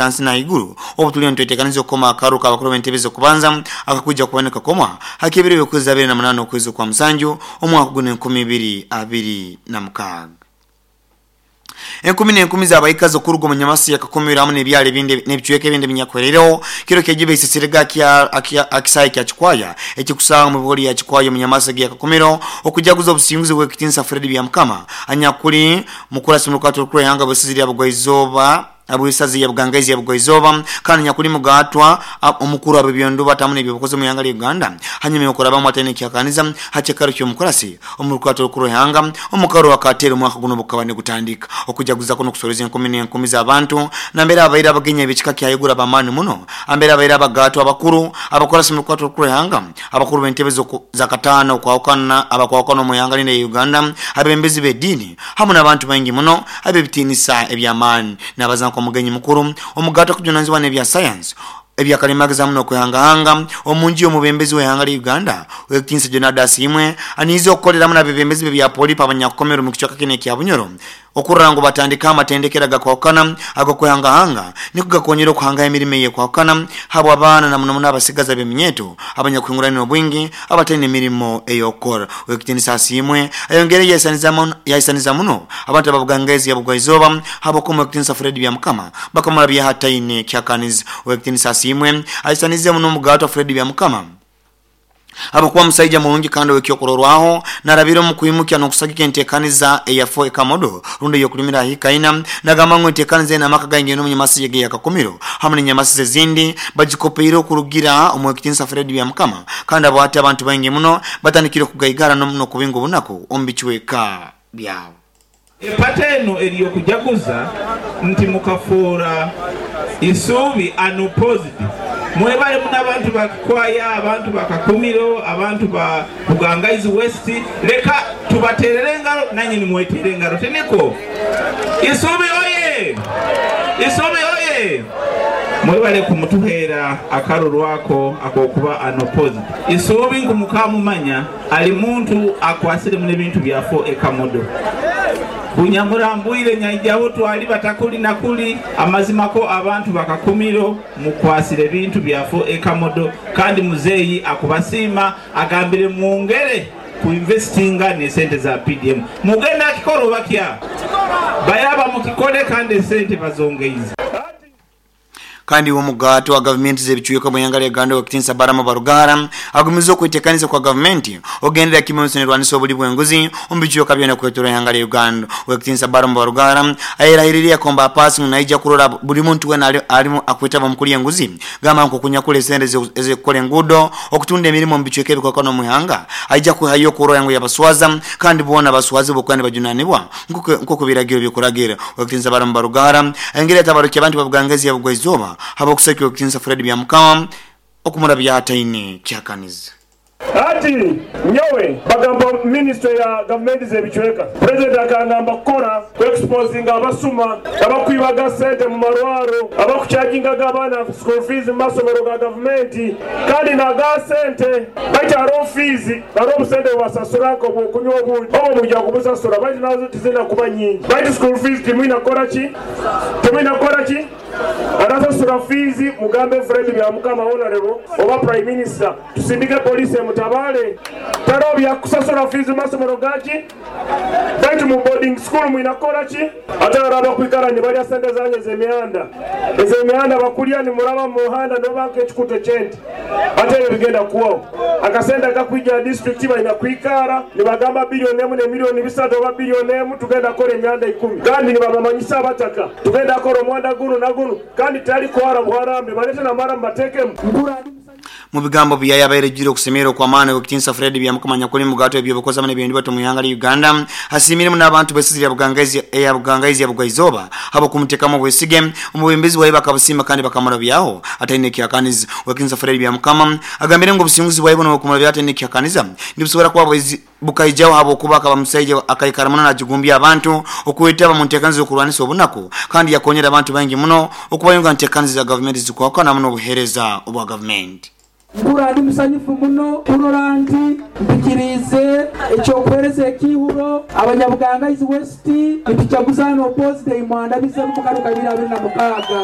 hansi na haiguru obu tuliyo nitwetekaniza okukoma akaruru k'abakuru b'entebe z'okubanza akakwija kuba nikakomwa hak'ebiro by'okwezi 28 okwezi okwa musanju omwaka guno 2026. Enkumi n'enkumi z'abaikazi okuruga omu Nyamasi yakakumira hamu n'ebyaro ebindi n'ebicweka ebindi ebinyakuherireho kiro kyejiba isisirega akisaayi kya Kikwaya ekikusanga omu bihori ya Kikwaya omu Nyamasi yakakumiro okujaguza obusinguzi bw'ekitinisa Fred Byamukama anyakuli mukurasi mu rukato rukuru ihanga bwesizi lya Bugwaizooba abw'isaza ya Bugangaizi ya Bugwaizooba kandi nyakuli mugaatwa omukuru ab'ebyonduba tamu n'ebyobukozi omu ihanga lya Uganda hanyuma y'okurabamu ataine kyakaniza ha kyekaro ky'omukurasi omu rukato rukuru ihanga omukaro akateera omwaka guno bukaba nigutandika okujaguza kuno kusoreza enkumi n'enkumi z'abantu nambere abaire abagenya ebikika kyayigura ab'amaani muno ambere abaire abagaatwa abakuru abakurasi mu rukato rukuru ihanga abakuru b'entebe za kataano okwahukana abakwahukana omu ihanga lino eya Uganda abembezi b'ediini hamu n'abantu baingi muno ab'ebitiinisa eby'amaani n'abaza nk'omugenyi mukuru omugaatwa kujunanizibwa n'ebya sayansi ebyakalimagezi hamu n'okwehangahanga omu nju y'omubembezi w'ihanga lya Uganda ow'ekitiinisa Jonada Asiimwe aniize okukoleramu n'abebembezi b'ebya polipo abanyakukomera omu kicweka kinu ekya Bunyoro okurora ngu batandika amatendekero agakwahukana ag'okwehangahanga niko gakonyera okuhangaho emirimo eyekwahukana habw'abaana na muno muno abasigazi ab'eminyeeto abanyakuhingurana obwingi abataine emirimo ey'okukora. Ow'ekitiinisa Asiimwe ayongere yaisaniza muno abantu ababugangaizi ya Bugwaizooba habw'okuba Ow'ekitiinisa Fred Byamukama bakamurabyaho ataine kyakaniza. Ow'ekitiinisa Asiimwe aisanize muno omugaatwa Fred Byamukama habwokuba musaija murungi kandi ow'ekyokurorwaho narabire omu kwimukya n'okusagika enteekaniza eya 4 Ekamodo rundi ey'okulimira ahikaina nagamba ngu enteekaniza enu amaka gaingi n'omu Nyamasi yege ya Kakumiro hamu n'enyamasi ezindi bagikopeire okurugira omu Ow'ekitiinisa Fred Byamukama kandi abo hati abantu baingi muno batandikire okugaigara n'okubinga obunaku omu bicweka byabo. Epata eno eri y'okujaguza nti mukafuura isuubi unopposed. Mwebale muno abantu ba Kikwaya, abantu ba Kakumiro, abantu ba Bugangaizi West, leka tubateerere engaro nanye nimweteera engaro, tinikwo? Isuubi oye! Isuubi oye! Mwebale kumutuheera akaruru ako ak'okuba unopposed. Isuubi nkumukamumanya ali muntu akwasire muno ebintu byafo ekamodo. Bunyamurambwire nyaijaho twali batakuli nakuli amazima ko abantu bakakumiro mukwasire ebintu byafo ekamodo kandi muzeeyi akubasiima agambire mwongere kuinvestinga n'esente za PDM. Mugenda akikora oba kya? Bayaba mukikole kandi esente bazongeize. Kandi omugato wa gavumenti z'ebicweka mu ihanga lya Uganda ow'ekitiinisa Balaam Barugahara agumize okwetekaniza kwa gavumenti ogendera kimwe ensi nerwanisa obuli bw'enguzi omu bicweka byona kwetoroora ihanga lya Uganda. Ow'ekitiinisa Balaam Barugahara ayerahiriire yakomba apaasi ngu naija kurora buli muntu wena alimu akwetaba omu kulya enguzi gamba nk'okunyakura esente ez'okukora enguudo, okutunda emirimo omu bicweka ebikwakana omu ihanga aija kwihayo okurora ngu yabaswaza kandi boona abaswazi bokuba nibajunanibwa nk'oku ebiragiro bikuragira. Ow'ekitiinisa Balaam Barugahara ayongere yatabarukya abantu ba Bugangaizi ya Bugwaizooba habw'okusakira ow'ekitiinisa Fred Byamukama okumurabya ataine kyakaniza. Hati nyowe bakampa minisitule ya gavumenti z'ebicweka. Purezidenti akangamba kukora ku exposinga abasuma abakwibaga sente mu marwaro, abakucajingaga abaana school fees mu masomero ga gavumenti kandi naga sente baitu hariho fees, hariho obusente bubasasura nk'obwokunywa obundi obo mwija kubusasura baitu nazo tizina kuba nyingi baitu school fees timwina kukora ki? Timwina kukora ki? Arasasura fees mugambe Fred Byamukama honorable oba prime minister tusindike poliisi emutabale tariho byakusasura fees mu masomero gaki baitu mu boarding school mwina kukora ki? Ate hariho abakwikara nibarya sente zanyu ez'emihanda ez'emihanda bakurya nimuraba mu muhanda noba nk'ekikuta eky'ente ate ebyo bigenda kuhwaho akasente akakwija aha district balina kwikara nibagamba biliyoni emu n'emiliyoni bisatu oba biliyoni emu tugenda kukora emihanda 10 kandi nibabamanyisa abataka tugenda kukora omuhanda gunu na gunu kandi tari kuhara buharambe balete n'amaramu batekemu. Mu bigambo byaye abaire ejjire okusemererwa okw'amaani ow'ekitiinisa Fred Byamukama nyakuli mugato eby'obukozi hamu n'eby'endibato mu ihanga lya Uganda asiimiremu n'abantu b'esizi lya Bugangaizi eya Bugangaizi ya Bugwaizooba habw'okumuteekamu obwesige omubembezi bwaye bakabusiima kandi bakamurabyaho ataine kyakaniza. Ow'ekitiinisa Fred Byamukama agambire ngu obusinguzi bwaye bunu obw'okumurabyaho ataine kyakaniza nibusobora kuba bukaijaho habwokuba akaba musaija akaikara muno najigumbya abantu okwetaba mu nteekaniza z'okurwanisa obunaku kandi yakonyera abantu baingi muno okubayunga nteekaniza za gavumenti zikwahukana hamu n'obuheereza obwa gavumenti. Mpurra ndi musanyufu muno kurora nti mpikiriize eky'okuheereza ekiihuro Abanyabugangaizi West nitujaguza Unopposed ei mwandabizemu mu karu ka ibiri abiri na mukaaga.